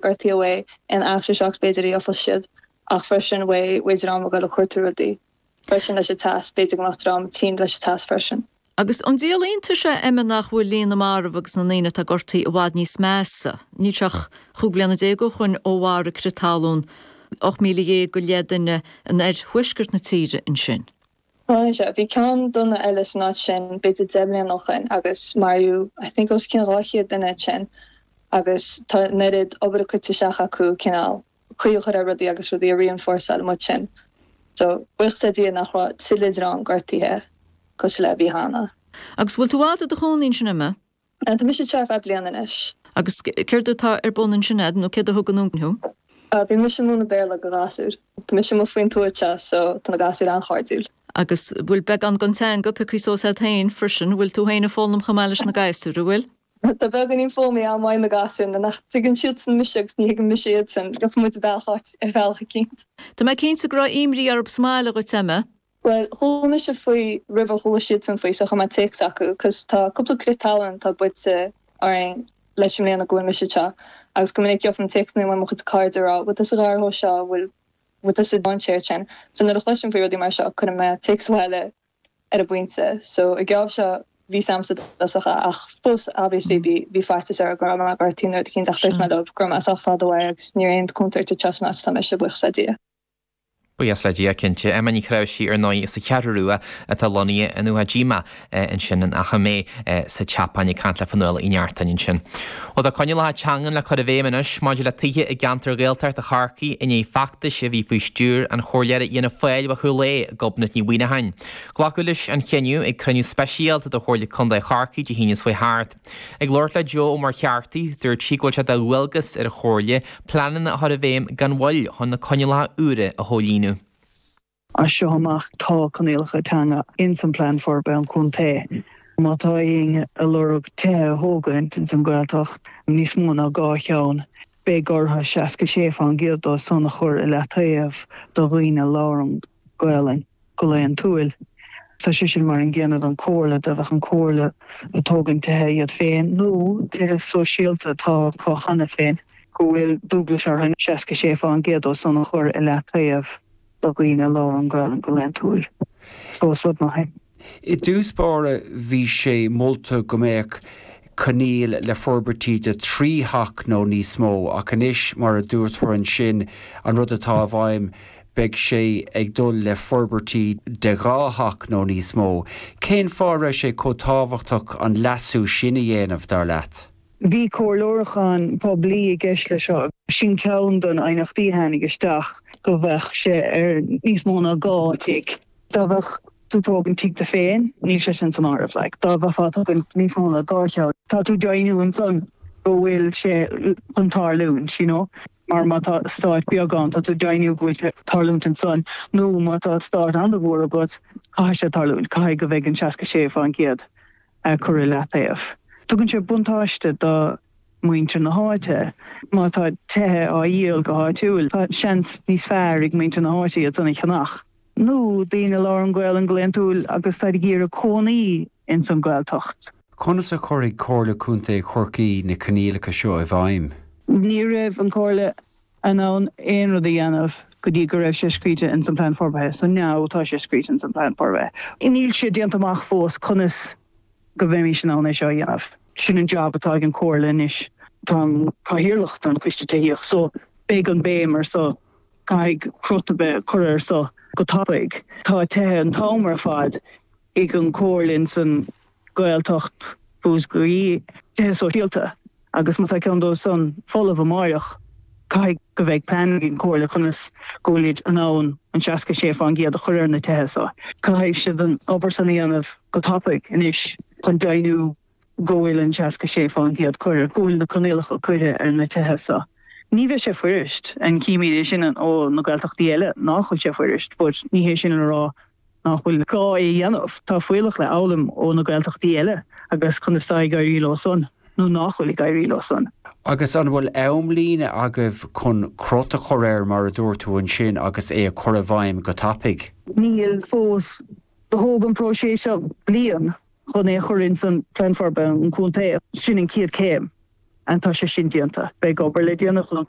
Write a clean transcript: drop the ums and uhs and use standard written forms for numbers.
Gortaithe uaidh aon aftershocks b'fhéidir a gheofas siad ach freisin uaidh uaidh dream ag dul ag cuartú rudaí freisin leis an teas, b'fhéidir go mbeadh dream tinn leis an teas freisin. Agus an díol iontais é Emma nach bhfuil líon na marbh agus na ndaoine atá gortaithe i bhfad níos measa? Níl sé ach chúig bhliana déag ó shoin ó mharaigh crith talún 18,000 go leith duine in oirthuaisceart na tíre ansin. Tharla sé. Bhí ceann dona eile san áit sin b'fhéidir 10 mbliana ó shoin agus maraíodh I think os cionn 200 duine ansin agus tá an oiread obair curtha isteach acu cineál caoi a chur ar rudaí agus rudaí a reinforceáil amuigh ansin. So buíochas le Dia nach raibh tuilleadh dream gortaithe cosúil le a bhí cheana. Agus bhfuil tú i bhfad i do chónaí ansin Emma? Tá mise anseo ar feadh bliana anois. Agus céard atá ar bun ansin a'd, nó céard a thug anonn thú? Bíonn mise ag múineadh Béarla do ghasúir. Tá mise amuigh faoin tuath anseo so tá na gasúir an-chairdiúil. Agus bhfuil beagán den teanga pioctha suas a'd féin freisin? Bhfuil tú féin ag foghlaim chomh maith leis na gasúir, an bhfuil? Tá beagáinín foghlama agam uaidh na gasúir nuair nach dtuigeann siadsan mise agus ní thuigeann mise iadsan. Gheobhaidh muid bealach áit ar bhealach eicínt. Tá mé cinnte go raibh imní orthu sa mbaile dhuit, Emma. Bhuel, chuala mise faoi roimh ar chuala siadsan faoi so chuir mé téacs chucu 'cause tá cúpla crith talún atá buailte orainn leis an mbliana go bhfuil mise anseo agus go minic gheobhainn téacsanna uaidh mo chuid cairde ag rá bhfuil tusa gar dhó seo, bhfuil bhfuil tusa i ndainséar ansin. So nuair a chloisim faoi rudaí mar seo cuireann mé téacs abhaile ar an bpointe. So ag geábh seo bhí 's a'msa i dtosach ach fós obviously bhí bhí faitíos orm go raibh mé gortaithe nó rud eicínt ach dúirt mé leo go raibh mé sách fada uaidh agus ní raibh aon contúirt anseo san áit atá mise, buíochas le Dia. Buíochas le Dia, cinnte. Emma Ní Chnáimhsí, ar ndóigh, as an Cheathrú Rua atá lonnaithe in Uwajima ansin in Achadh Méith sa tSeapáin, ag caint le Fionnuala Uí Neachtain ansin. Bhuel, tá coinníollacha teangan le cur i bhfeidhm anois maidir le tithe i gceantar Ghaeltacht Chorcaí i ndiaidh feachtais a bhí faoi stiúir an chomhairleora Fhianna Fáil ó Chúil Aodha, Gobnait Ní Mhuineacháin. Glacadh leis an chinneadh ag cruinniú speisialta de Chomhairle Contae Chorcaí Dé hAoine seo chuaigh thart. Ag labhairt le Joe Ó Muircheartaigh, dúirt sí go bhfuil sé de dhualgas ar an Chomhairle pleananna a chur i bhfeidhm gan mhoill chun na coinníollacha úra a chomhlíonadh. As seo amach tá coinníollacha teanga ins an Plean Forbartha an Chontae. Má tá éinne ag lorg tithe a thógaint ins an Ghaeltacht, níos mó ná 2 cheann, beidh orthu 66% dó san a chur i leataobh do dhaoine a labhrann Gaelainn. go laethantúil. Tá sé sin mar an gcéanna don Chomhairle, dá mbeadh an Chomhairle ag tógaint tithe iad féin nó tithe sóisialta atá acu cheana féin, go bhfuil dualgas orthu 66% dó san a chur i leataobh do dhaoine a labhrann Gaelainn go laethantúil. So is rud maith é. I dtús báire bhí sé molta go mbeadh coinníoll le forbairtí de thrí theach nó níos mó ach anois, mar a dúirt tú ansin, an rud atá i bhfeidhm, beidh sé ag dul le forbairtí de dhá theach nó níos mó. Cén fáth a raibh sé chomh tábhachtach an leasú sin a dhéanamh, dar leat? Bhí comhairliúchán poiblí i gceist leis seo. Sin ceann de na haighneachtaí a tháinig isteach, go mbeadh sé ar níos mó ná dhá tigh. Dá mbeadh tú ag tógaint tigh duit féin, níl sé sin san áireamh. Like, dá mbeifeá ag tógaint níos mó ná 2 cheann, tá tú ag deimhniú ansan go bhfuil sé chun tarlúint, you know. Mar má tá eastát beag ann, tá tú ag deimhniú go bhfuil sé ag tarlúint ansan, nó má tá eastát an-mhór agat, caithfidh sé tarlúint, caithfidh go mbeidh an 66% curtha i leataobh. Tugann sé buntáiste do muintir na háite. Má tá tithe á dhíol go háitiúil, tá seans níos fearr ag muintir na háite iad san a cheannach. nó daoine a labhrann Gaolainn go laethantúil agus táid ag iarraidh cónaí ins an Ghaeltacht. Conas a chuirfidh Comhairle Contae Chorcaí na coinníollacha seo i bhfeidhm? Ní raibh an Comhairle in ann aon rud a dhéanamh go dtí go raibh sé scríte ins an Plean Forbartha. So now tá sé scríte ins an Plean Forbartha. Níl sé déanta amach fós conas go mbeimis in ann é seo a dhéanamh. Sin an job atá ag an Comhairle anois. Táim Cathaoirleach don Choiste Tithíochta so beidh an béim ar so. Caithfidh crot a bheith curtha ar so go tapaidh. Tá tithe an t-am ar fad ag an Chomhairle ins an Ghaeltacht Mhúscraí, tithe sóisialta, agus má tá ceann dóibh san folamh amáireach, caithfidh go mbeidh plean ag an Chomhairle conas go bhfuilid in ann an 66% a chur ar na tithe so. Caithfidh siad an obair san a dhéanamh go tapaidh anois chun deimhniú go bhfuil an 66% curtha, go bhfuil na coinníollacha curtha ar na tithe so. Ní bheidh sé fuirist, and címid é sin ó na Gaeltachtaí eile nach bhfuil sé fuirist, but ní hé sin le rá nach bhfuil gá é a dhéanamh. Tá fuíollach le fhoghlaim ó na Gaeltachtaí eile agus conas tá ag éirí leo san nó nach bhfuil ag éirí leo san. Agus an bhfuil amlíne agaibh chun crot a chur air mar a dúirt tú ansin agus é a chur i bhfeidhm go tapaidh? Níl fós. Do thóg an próiseas seo bliain. chun é a chur ins an Plean Forbartha an Chontae. Sin an chéad chéim. And tá sé sin déanta. Beidh obair le déanamh chun an.